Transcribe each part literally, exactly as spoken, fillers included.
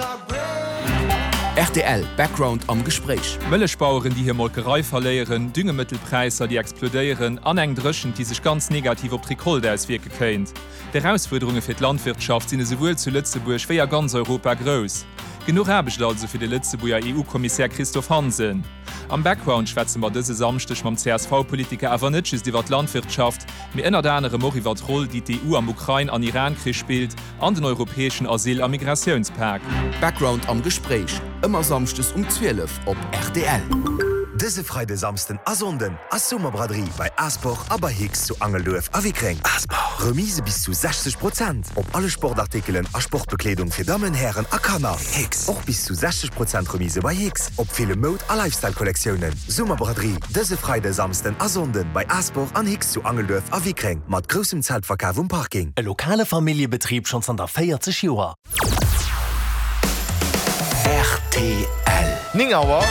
R T L Background am Gespréich. Mëllechbaueren, déi hir Molkerei verléieren, Düngemëttelpräisser, déi explodéieren, an eng Dréchent, déi sech ganz negativ op d'Recolte auswierke kéint. D'Erausfuerderunge fir d'Landwirtschaft sinn esouwuel zu Lëtzebuerg wéi a ganz Europa grouss. Genuch Aarbecht also fir de Lëtzebuerger E U-Kommissär Christophe Hansen. Am Background schwätze mer dëse Samschdeg mam C S V-Politiker awer net just iwwer d'Landwirtschaft, mee ënnert anerem och iwwer d'Roll, déi d'E U am Ukrain an Iran-Krich spillt, an den europäeschen Asyl- a Migratiounspak. Background am Gespréich, ëmmer samschdes um zwielef op R T L. Dëse Freide, Samsden a Sonnden ass Summerbraderie bei Asport a bei Hicks zu Angelduerf a Wickreng. Asport. Remise bis zu sechzeg Prozent op alle Sportartikelen a Sportbekleedung fir Dammen, Hären a Kanner. Hicks. Och bis zu sechzeg Prozent Remise bei Hicks op ville Moud- a Lifestyle-Kollektiounen. Summerbraderie dëse Freide, Samsden a Sonnden bei Asport an Hicks zu Angelduerf a Wickreng mat groussem Zeltverkaf um Parking. E lokale Familljebetrib schonn zanter véierzeg Joer. R T L. néng Auer.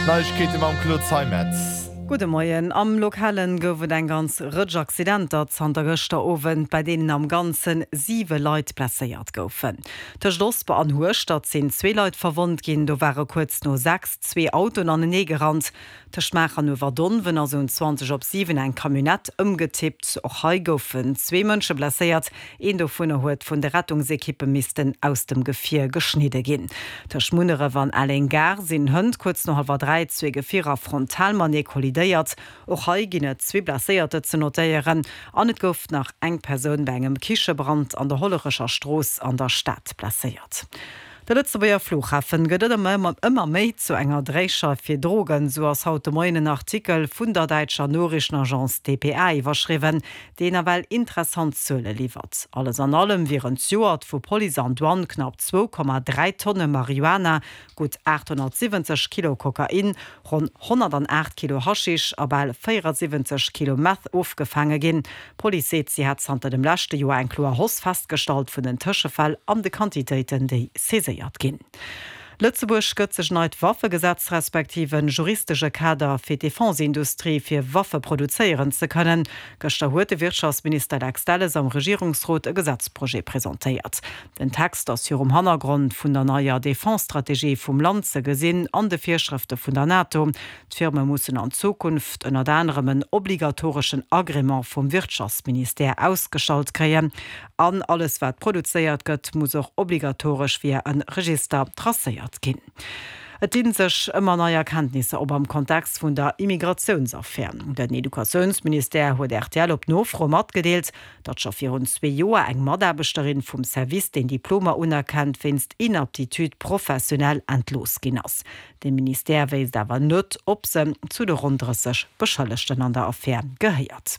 Neiegkeete mam Claude Zeimetz. Gudde Moien. Am Lokalen gouf et eng ganz Rëtsch Accidenter zanter gëschter Owend, bei deenen am Ganze siwe Leit blesséiert goufen. Tëscht Osper an Hueschtert sinn zwee Leit verwonnt ginn, do ware kuerz no sechs zwee Autoen anenee gerannt. Tëscht Maacher an Uewerdonwen ass um zwanzeg op siwen eng Camionnette ëmgetippt. Och hei goufen zwee Mënsche blesséiert, een dovunner huet vun de Rettungsekippe missten aus dem Gefier geschnidde ginn. Tëscht Munneref an Elleng-Gare sinn hënt kuerz no hallwer dräi zwee Gefierer frontal matenee kollidéiert. Och hei ginn et zwee Blesséierter ze notéieren an et gouf nach eng Persoun bei engem Kichebrand an der Hollerecher Strooss an der Stad blesséiert. De Lëtzebuerger Flughafen gëtt ëmmer ëmmer méi zu enger Dréischeif fir Drogen, sou ass haut de Moien en Artikel vun der däitscher Noriichtenagence D P A iwwerschriwwen, deen nawell interessant Zuele liwwert. Alles an allem wieren zejoert vu Police an Douane knapp zwou Komma dräi Tonne Marihuana, gutt aathonnertsiwwenzeg Kilo Kokain, ronn honnertaacht Kilo Haschisch a bal véieresiwwenzeg Kilo Meth ofgefaange ginn. D'Police seet, si hätt zanter dem leschte Joer eng kloer Hausse festgestallt vun den Tëschefäll an de Quantitéiten, déi saiséiert ginn. Lëtzebuerg gëtt sech neit Waffegesetz respektiv en juristesche Kader fir d'Defenseindustrie, fir Waffe produzéieren ze kënnen. Gëschter huet de Wirtschaftsminister Lex Delles am Regierungsrot e Gesetzprojet presentéiert. Den Text ass virum Hannergrond vun der neier Defense-Strategie vum Land ze gesinn an de Virschrëfte vun der NATO. D'Firme mussen an Zukunft ënnert anerem en obligatoreschen Agrément vum Wirtschaftsministère ausgestallt kréien. An alles wat produzéiert gëtt, muss och obligatoresch via e Register tracéiert ginn. Et dinn sech ëmmer nei Erkenntnisser op am Kontext vun der Immigratiounsaffär. Den Educatiounsministère huet R T L op Nofro matgedeelt, datt scho virun zwee Joer eng Mataarbechterin vum Service, deen Diplomer unerkennt, wéinst Inaptitude professionnelle entlooss ginn ass. De Ministère wéisst awer net, ob se zu de ronn drësseg Beschëllegten an der Affär gehéiert.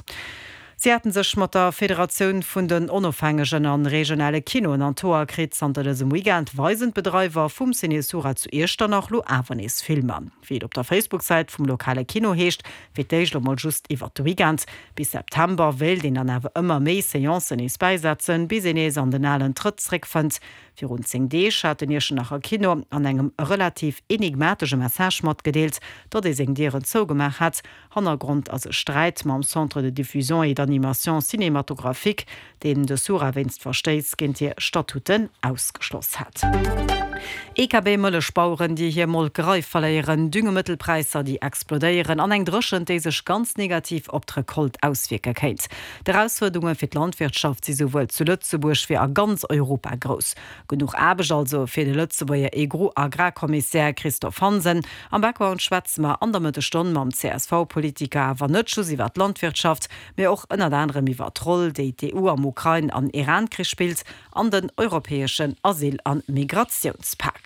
Si haten sech mat der Federatioun vun den onofhängegen an regionale Kinoen an d'Hoer kritt. Zanter dësem Weekend weisen d'Bedreiwer vum Ciné Sura zu Iechternach lo awer nees Filmer. Wéi et op der Facebook-Säit vum lokale Kino heescht, fir d'éischt lo mol just iwwer de Weekend. Bis September wéilt een dann awer ëmmer méi Seancen nees bäisetzen, bis een nees an den alen Trëtt zréckfënnt. Virun zéng Deeg hat den Iechternacher Kino an engem relativ enigmatesche Message matgedeelt, datt ee seng Dieren zougemaach hätt. Hannergrond ass e Sträit mam Centre de diffusion et d'animation cinématographique, deen de Sura wéinst Verstéiss géint hir Statuten ausgeschloss hat. E K B Mëllechbaueren, déi hir Molkerei verléieren, Düngemëttelpräisser, déi explodéieren, an eng Dréchent, déi sech ganz negativ op d'Recolte auswierke kéint. D'Erausfuerderunge fir d'Landwirtschaft si souwuel zu Lëtzebuerg wéi a ganz Europa grouss. Genuch Aarbecht also fir de Lëtzebuerger E U-Agrarkommissär Christophe Hansen. Am Background schwätze mer an der Mëttesstonn mam C S V-Politiker awer net just iwwer d'Landwirtschaft, mee och ënnert anerem iwwer d'Roll, déi d'E U am Ukrain- an Iran-Krich spillt, an den europäeschen Asyl- an Migratiounspak.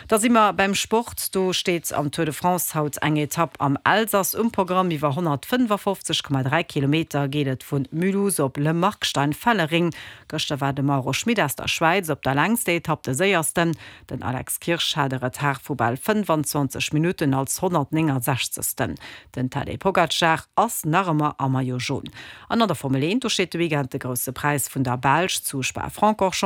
Da si mer beim Sport. Do steet am Tour de France haut eng Etapp am Elsass um Programm. Iwwer honnertfënnefofzeg Komma dräi Kilometer geet et vu Mulhouse op Le Markstein-Fellering. Gëschter war de Mauro Schmit aus der Schwäiz op der längster Etapp de Séiersten. Den Alex Kirsch hat e Retard vu bal fënnfanzwanzeg Minutten als honnertnéngasechzegsten. Den Tadej Pogacar ass nach ëmmer am Maillot jaune. An an der Formel eent, do steet de Weekend de Grousse Präis vun der Belsch zu Spa-Francorchamps.